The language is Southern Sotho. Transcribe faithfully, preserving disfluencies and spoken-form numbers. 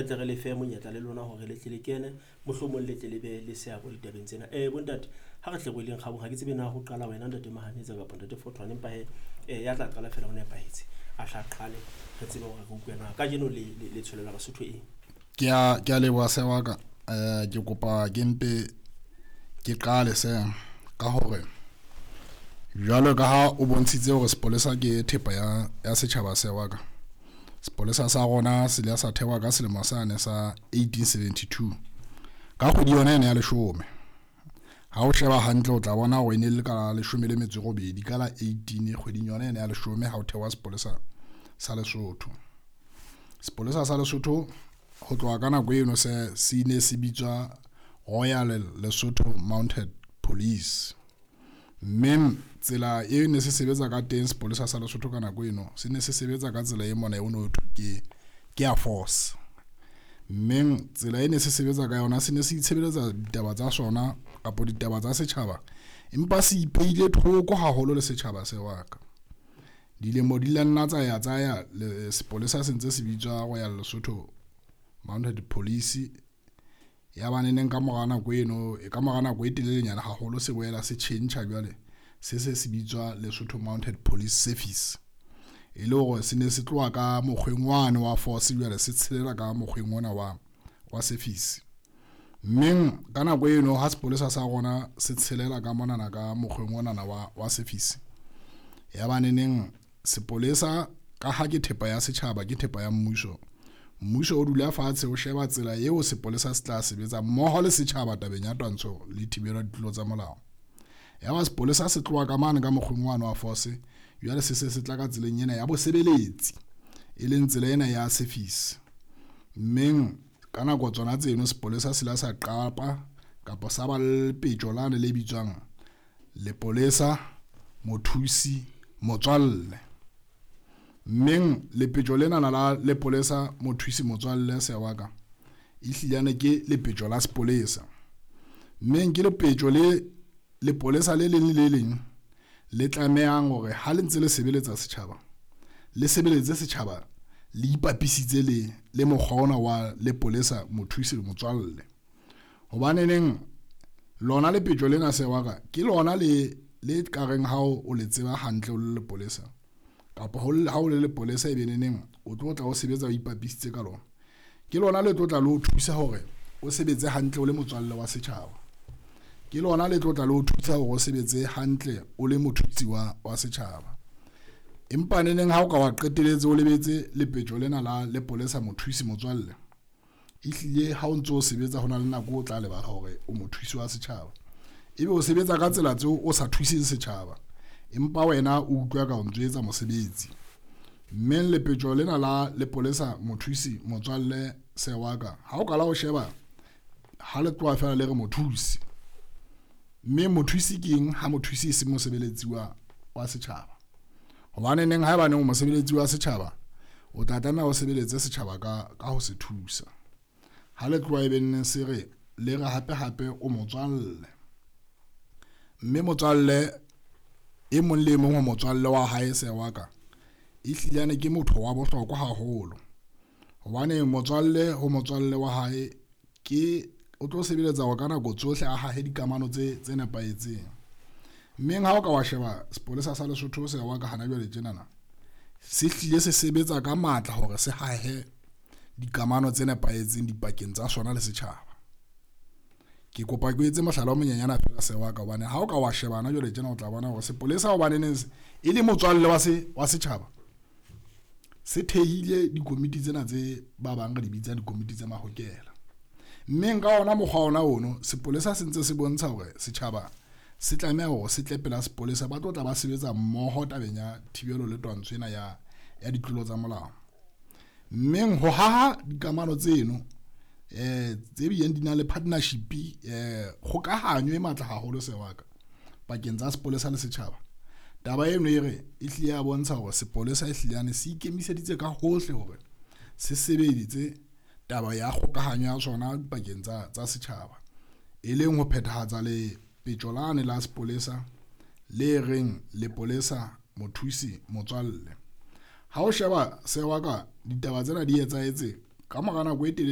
Tle re le fe monyetla le lona hore le tle le kene, mohlomong le tle le be le seabo ditabeng tsena. Eh bontate, ha re tle re weleng kgabong, ha ke tsebe na ho qala wena ntate Mahanetsa kapa ntate Fotwane, empa hee eh ya tla qala fela ho nepahetse. A tla qale re tsebe hore re utlwe na kajeno le le tsholela Basotho eng. Ke a ke a leboha se wa ka. Eh ke kopa ke mpe ke qale se ka hore jwalo ka ha o bontshitse hore sepolesa ke thepa ya ya setjhaba se wa ka. Sepolesa sa rona se ile sa thewa ka selemo sane sa eighteen seventy-two ka kgwedi yona ena ya leshome. Ha o sheba hantle o tla bona hore e ne le ka leshome le metso e robedi ka la eighteen kgweding yona ena ya leshome ha o thewa sepolesa sa Lesotho. Sepolesa sa Lesotho ho tloha ka nako eno se se ne se bitswa Royal Lesotho Mounted Police. Mme tsela e ne se sebetsa ka teng sepolesa sa Lesotho ka nako eno se ne se sebetsa ka tsela e mona e no thwe ke ke ya force. Mme tsela e ne se sebetsa ka yona se ne se itshebeletsa ditaba tsa sona kapa ditaba tsa setjhaba, empa se ipeile thoko haholo le setjhaba se wa ka. Dilemo di la nna tsa ya tsa ya le sepolesa se ntse se bitswa Royal Lesotho Mounted Police. Ya ba neneng ka mora nako eno ka mora nako e telelenyana haholo se boela se tjhentjha jwale se se se bitswa Lesotho Mounted Police Service. E le hore se ne se tloha ka mokgweng wane wa force jwale se tshelela ka mokgweng ona wa wa service. Mme ka nako eno ha sepolesa sa rona se tshelela ka monana ka mokgweng onana wa wa service, ya ba neneng sepolesa ka ha ke thepa ya setjhaba, ke thepa ya mmuso. Mmuso o dula fatshe o sheba tsela eo sepolesa se tla sebetsa mmoho le setjhaba tabeng ya twantsho le thibelo ya ditlolo tsa molao. Ya ba sepolesa se tloha ka mane ka mokgweng wane wa force, jwale se se se tla ka tseleng ena ya bosebeletsi, e leng tsela ena ya service. Mmeng ka nako tsona tseno sepolesa se la sa qapa kapa sa ba le lepetjo lane le bitswang lepolesa mothusi motswalle. Mmeng lepetjo lena la lepolesa mothusi motswalle se wa ka ehlilane ke lepetjo la sepolesa. Mmeng ke lepetjo le lepolesa le leng le le leng le tlamehang hore ha le ntse le sebeletsa setjhaba, le sebeletse setjhaba le ipapisitse le le mokgwa ona wa lepolesa mothusi le motswalle. Hobane neng lona lepetjo lena se wa ka ke lona le le ka reng ha o le tseba hantle o le lepolesa kapa ha o le lepolesa e be neneng o tlo tla o sebetsa o ipapisitse ka lona. Ke lona le tlo tla le o thusa hore o sebetse hantle o le motswalle wa setjhaba. Ke lona le tlo tla le o thusa hore o sebetse hantle o le mothusi wa wa setjhaba. Empa neneng ha o ka wa qetelletse o lebetse lepetjo lena la lepolesa mothusi motswalle, ehlile ha o ntso o sebetsa hona le nako o tla lebala hore o mothusi wa setjhaba. Ebe o sebetsa ka tsela tseo o sa thuseng setjhaba, empa wena o utlwa ka o ntso etsa mosebetsi. Mme lepetjo lena la lepolesa mothusi motswalle se wa ka, ha o kala o sheba ha le tloha fela le re mothusi. Mme mothusi ke eng ha mothusi e se mosebeletsi wa wa setjhaba? Hobane neng ha eba neng o mosebeletsi wa setjhaba, o tla tlameha o sebeletse setjhaba ka ka ho se thusa. Ha le tloha e be neng se re le re hape hape o motswalle. Mme motswalle e mong le e mong ho motswalle wa hae se wa ka ehlilane ke motho wa bohlokwa haholo. Hobane motswalle ho motswalle wa hae ke o tlo sebeletsa hore ka nako tsohle a hahe dikamano tse tse nepahetseng. Mmeng ha o ka wa sheba sepolesa sa Lesotho se wa ka hana jwale tjenana, se hlile se sebetsa ka matla hore se hahe dikamano tse nepahetseng dipakeng tsa sona le setjhaba. Ke kopa ke etse mohlala o monyenyana fela se wa ka, hobane ha o ka wa sheba hana jwale tjena o tla bona hore sepolesa hobane neng e le motswalle wa se wa setjhaba, se thehile dikomiti tsena tse ba bang re di bitsang dikomiti tsa mahokela. Mme nka ona mokgwa ona ono sepolesa se ntse se bontsha hore setjhaba se tlameha hore se tle pela sepolesa, ba tlo tla ba sebetsa mmoho tabeng ya thibelo le twantsho ena ya ya ditlolo tsa molao. Mme ho haha dikamano tseno eh tse bileng di na le partnership, eh kgokahanyo e matla haholo se wa ka pakeng tsa sepolesa le setjhaba. Taba eno e re e hlile ya bontsha hore sepolesa e hlile se ikemiseditse ka hohle hore se sebeditse taba ya kgokahanyo ya sona pakeng tsa tsa setjhaba, e leng ho phethahatsa lepetjo lane la sepolesa le reng lepolesa mothusi motswalle. Ha o sheba se wa ka ditaba tsena di etsahetse Ka mora nako e telele.